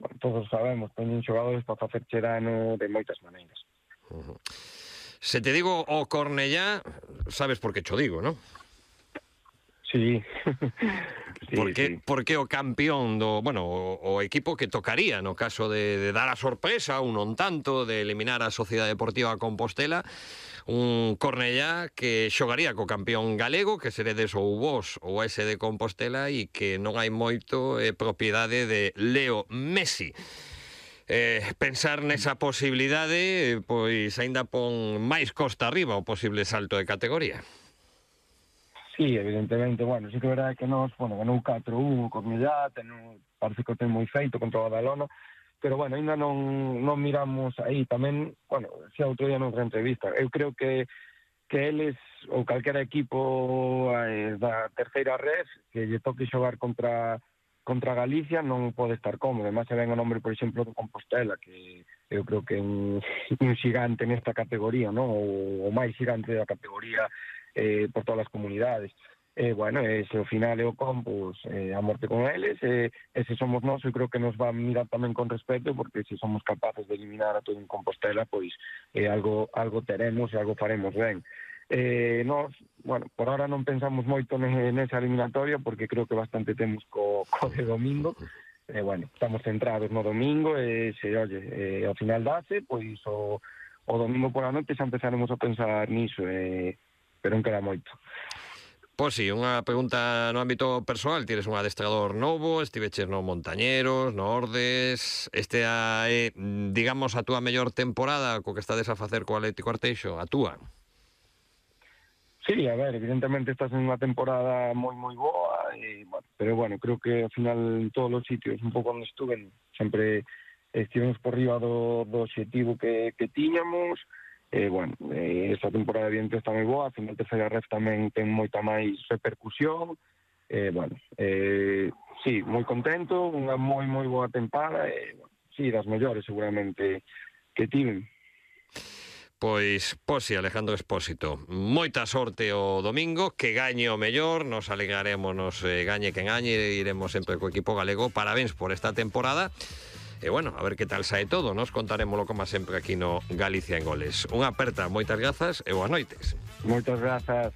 bueno, todos sabemos, teñen xogadores para facerche dano de moitas maneiras. Se te digo o Cornellá, sabes por que cho digo, non? Sí. Sí, porque o campeón o equipo que tocaría no caso de dar a sorpresa, un non tanto, de eliminar a Sociedade Deportiva Compostela, un Cornellá que xogaría co campeón galego, que seredes ou vos ou ese de Compostela, e que non hai moito propiedade de Leo Messi. Pensar nesa posibilidade, pois aínda pon máis costa arriba o posible salto de categoría. Sí, evidentemente, bueno, sí que é verdade que nos, ganou 4-1 o Cornellá, parece que o ten moi feito contra o Badalona, pero, bueno, ainda non miramos aí. Tamén, bueno, xa outro día noutra entrevista, eu creo que eles, ou calquera equipo da terceira red, que lle toque xogar contra Galicia, non pode estar cómodo. Además, se ven o nombre, por exemplo, do Compostela, que eu creo que é un xigante nesta categoría, non? O máis xigante da categoría por todas as comunidades. Bueno, se ao final é o Compos, a morte con eles, se somos nós, eu creo que nos va a mirar tamén con respeto, porque se somos capaces de eliminar a todo en Compostela, pois algo teremos e algo faremos ben. Nós, bueno, por ahora non pensamos moito nesa eliminatoria, porque creo que bastante temos co de domingo. Bueno, estamos centrados no domingo, ao final dase, pois o domingo pola noite xa empezaremos a pensar niso, pero non queda moito. Pois sí, unha pregunta no ámbito persoal. Tires un adestrador novo, estiveches no Montañeros, no Ordes. Este é, digamos, a túa mellor temporada co que estades a facer co Atlético Arteixo, a túa? Sí, a ver, evidentemente estás en unha temporada moi boa, pero bueno, creo que ao final en todos os sitios un pouco onde estuve sempre estivemos por riba do obxectivo que tiñamos. Bueno, esta temporada evidente está moi boa, a final terceira ref tamén ten moita máis repercusión. Bueno, sí, moi contento, unha moi boa tempada, sí, das mellores seguramente que tiven. Pois sí, Alejandro Expósito, moita sorte o domingo, que gañe o mellor, nos alegrarémonos, gañe quen gañe, iremos sempre co equipo galego. Parabéns por esta temporada. E bueno, a ver que tal sae todo. Nos contarémoslo como sempre aquí no Galicia en Goles. Unha aperta, moitas grazas e boas noites. Moitas grazas.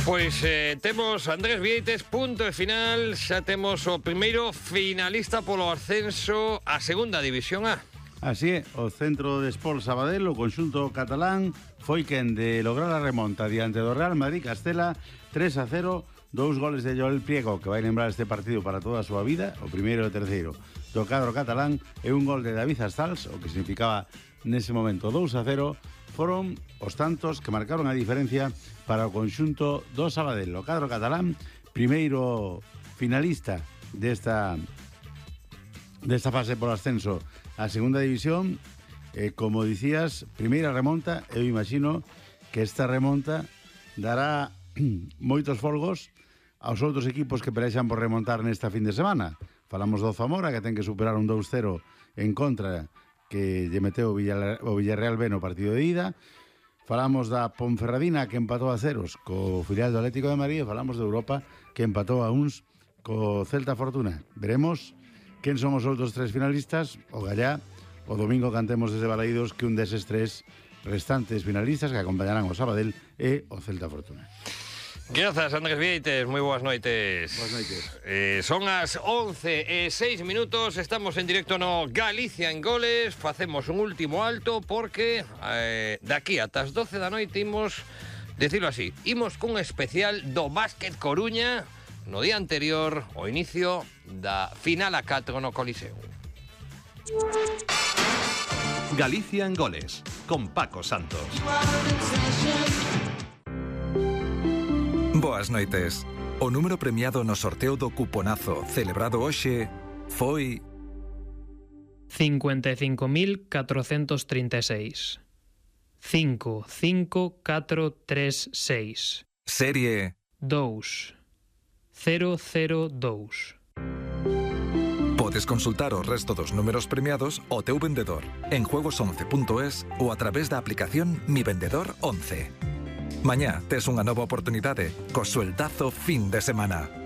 Pois temos Andrés Vieites, punto e final. Xa temos o primeiro finalista polo ascenso a segunda división A. Así é, o Centro de Sport Sabadell, o conxunto catalán, foi quen de lograr a remonta diante do Real Madrid Castela 3-0, 2 goles de Joel Priego, que vai lembrar este partido para toda a súa vida, o primeiro e o terceiro do cadro catalán, e un gol de David Astals, o que significaba nese momento 2-0, foron os tantos que marcaron a diferencia para o conxunto do Sabadell. O cadro catalán, primeiro finalista desta fase por ascenso a segunda división, como dicías, primeira remonta. Eu imagino que esta remonta dará moitos folgos aos outros equipos que pelexan por remontar nesta fin de semana. Falamos do Zamora, que ten que superar un 2-0 en contra, que lle meteu o Villarreal B no partido de ida. Falamos da Ponferradina, que empatou a ceros co filial do Atlético de Madrid. Falamos de Europa, que empatou a uns co Celta Fortuna. Veremos quen son os outros tres finalistas. O Gallá, o domingo cantemos desde Balaídos que un deses tres restantes finalistas que acompañarán o Sabadell e o Celta Fortuna. Grazas, Andrés Vieites, moi boas noites. Boas noites. Son as 11:06, estamos en directo no Galicia en Goles. Facemos un último alto porque daqui ata as 12 da noite imos, decirlo así, imos cun especial do Básquet Coruña no día anterior ao inicio da final a 4 no Coliseo. Galicia en Goles, con Paco Santos. Boas noites. O número premiado no sorteo do cuponazo celebrado hoxe foi 55.436. 55436. Serie 2002. Podes consultar o resto dos números premiados ao teu vendedor en juegos11.es ou a través da aplicación Mi Vendedor 11. Mañá tes unha nova oportunidade co sueldazo fin de semana.